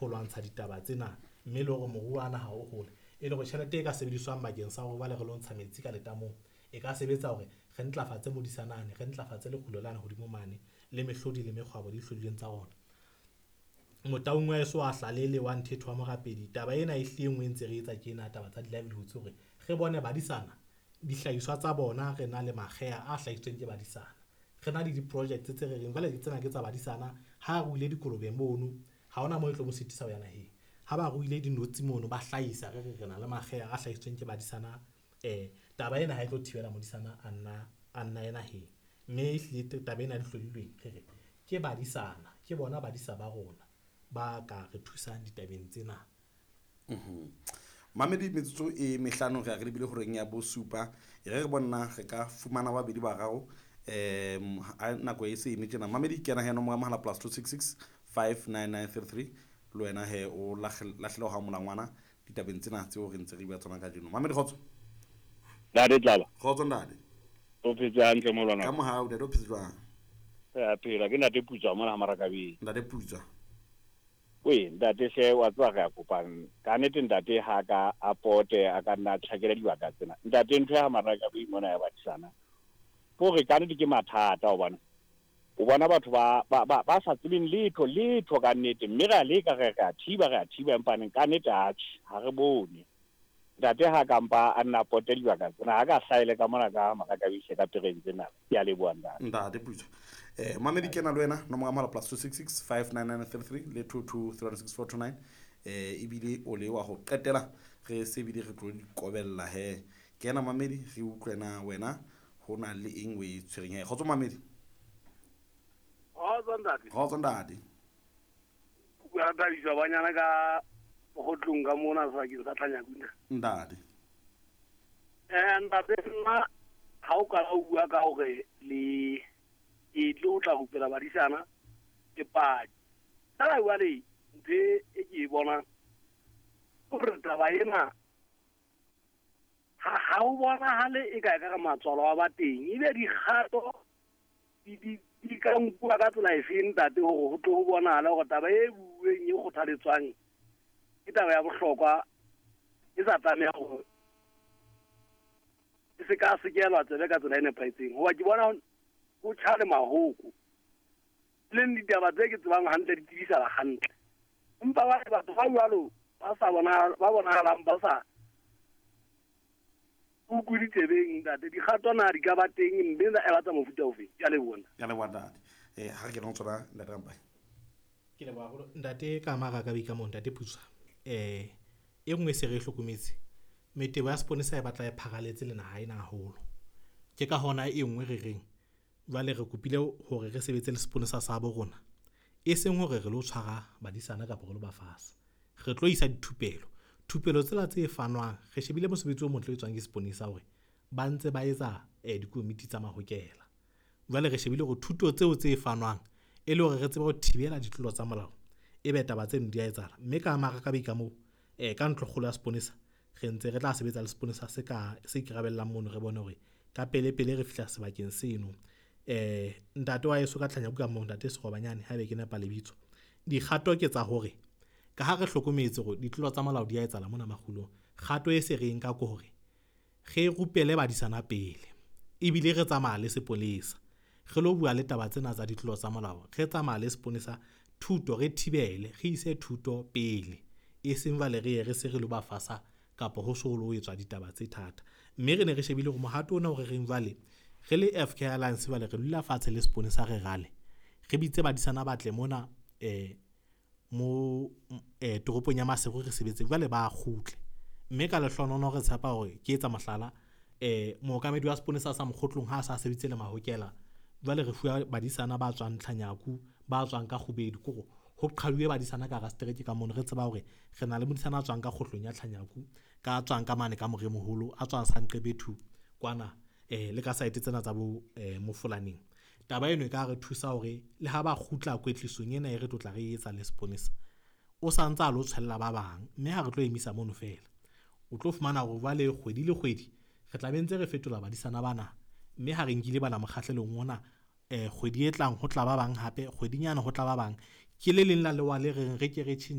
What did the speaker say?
ho lwantsha ditaba tsena mme le hore moruo wa naha o hole. E le hore tjhelete e ka sebediswang bakeng sa hore jwale re lo ntsha metsi ka letamong e ka sebetsa hore re ntlafatse modisanane, re ntlafatse lekgulo lane hodimo mane le mehlodi le mekgwabo le dihlodilweng tsa rona. Motaung wa heso wa Hlalele wa Nthetho wa Morapedi, taba ena e hlile e nngwe e ntse re etsa ke ena taba tsa di-livelihoods hore re bone badisana dihlahiswa tsa bona re na le makgeha a hlahisitsweng ke badisana. Re na le di-projects tse re reng jwale tsena ke tsa badisana, ha ruile dikolobe mono ha hona moo e tlo mo sitisa ho ya naheng. Ha ba ruile dinotshi mono ba hlahisa re re re na le makgeha a hlahisitsweng ke badisana, taba ena ha e tlo thibela modisana a nna a nna ye naheng. Mme ehlile taba ena ya dihlodilweng re re ke badisana, ke bona badisa ba rona ba ka re thusang ditabeng tsena. Mamedi metsotso e mehlano re ya re lebile horeng ya bosupa. E re re bonna re ka fumana babedi bararo ha nako e se eme tjena. Mamedi kena he nomoro ya mohala +266 59933 le wena he o lahlele ho molangwana ditabeng tsena tseo re ntse re bua tsona kajeno. Mamedi kgotso. Ntate Tlala. Kgotso ntate. O phetse hantle molwana. Ka mohau ntate, o phetse jwang? Re a phela, ke ntate Putswa mona ha Marakabeng. Ntate Putswa. Oe, ntate hle wa tseba re a kopang. Ka nnete ntate ha ka a pote a ka nna tjhakela dibaka tsena. Ntate ntho ya ha Marakabeng mona ya badisana. Ke hore ka nnete ke mathata hobane o bona batho ba ba ba, ba sa tsebeng letho letho ka nnete, mme re a leka re re a thiba re a thiba empa neng ka nnete atjhe ha re bone. Ntate ha ka mpa a nna pote dibaka tsena, ha ka hlaele ka mona ka Marakabeng ka pereng tsena. Ke a leboha ntate. Ntate Putswa. Mamedi kena le wena nomoro ya mohala +266 59933 le 2236429 ebile o le wa ho qetela re se ebile re tlo di kobella he. Kena mamedi re utlwe na wena ho na le eng o e tshwereng he. Kgotso mamedi. Kgotso ntate. Kgotso ntate. Bua Thabiso banyana ka Mokgotlong ka mona sebakeng sa Tlhanyakuna. Ntate. Ntate nna ha o qala o bua ka hore le e tlo tla rupela badisana ke paki. Fela jwale ntho e ke e bonang hore taba ena ha o bonahale e ka ka matswalo a ba teng, ebe dikgato di ka nkuwa ka tsela efeng ntate hore ho tlo ho bonahala hore taba e bueng e kgothaletswang ke taba ya bohlokwa e sa tlameha hore e se ka sekelwa tsebe ka tsela e nepahetseng. Hoba ke bona ho tjha le mahoko, leng ditaba tse ke tsebang hantle di tsebisala hantle, empa ba batho ba jwalo ba sa bona ba bonahalang ba sa utlwe ditsebeng ntate, dikgato na di ka ba teng mme e batla mofuta ofe? Ke a leboha. Ke a leboha ntate. Ha re kena ho tsona ntate Rampai. Ke leboha haholo ntate ka Marakabeng ka moo ntate Putswa. E nngwe se re hlokometse, metebo ya seponesa e batla e pharaletse le naha ena haholo. Ke ka hona e nngwe re reng jwale re kopile hore re sebetse le seponesa sa bo rona, e seng hore re lo tshwara badisana kapa re lo ba fasa. Re tlo isa dithupelo. Thupelo tsela tse fanwang, re shebile mosebetsi o motle o etswang ke seponesa hore ba ntse ba etsa dikomiti tsa mahokela. Jwale re shebile hore thuto tseo tse fanwang e le hore re tsebe ho thibela ditlolo tsa molao, ebe taba tseno di a etsahala. Mme ka Marakabeng ka moo ka ntlokgolo ya seponesa re ntse re tla sebetsa le seponesa se ka se ikarabellang mono, re bone hore ka pele pele re fihla sebakeng seno. Ntate wa heso ka Tlhanyaku ka moo, ntate Serobanyane haebe ke nepa lebitso, dikgato ke tsa hore ka ha re hlokometse hore ditlolo tsa molao di a etsahala mona makgulong, kgato e se re nka ke hore re rupele badisana pele, ebile re tsamaya le sepolesa re lo bua le taba tsena tsa ditlolo tsa molao, re tsamaya le seponesa thuto, re thibele, re ise thuto pele, e seng jwale re ye re se re lo ba fasa kapa ho so lo etswa ditaba tse thata. Mme re ne re shebile hore mohato ona o re reng jwale re le FK Alliance jwale re dula fatshe le seponesa re rale, re bitse badisana ba tle mona mo toropong ya Maseru re sebetse jwale ba kgutle. Mme ka lehlohonolo re tshepa hore ke etsa mohlala, mookamedi wa seponesa sa Mokgotlong ha a sa sebeditse le mahokela, jwale re fuwa badisana ba tswang Tlhanyaku, ba tswang ka Kgubedu, kore ho qhaduwe badisana ka hara setereke ka mono. Re tseba hore re na le modisana a tswang ka kgohlong ya Tlhanyaku, ka tswang ka mane ka Moremoholo, a tswang Sanqebethu kwana le ka saete tsena tsa bo Mofolaneng. Taba eno e ka re thusa hore le ha ba kgutla kwetlisong ena e re tlotla re etsa le seponesa, o sa ntse a lo tshwella ba bang, mme ha re tlo emisa mono fela. O tlo fumana hore jwale kgwedi le kgwedi re tla be ntse re fetola badisana bana, mme ha re nkile bana mokgahlelong ona kgwedi e tlang ho tla ba bang hape, kgwedinyana ho tla ba bang. Ke le leng la lewa le reng re ke re tjhentjhe.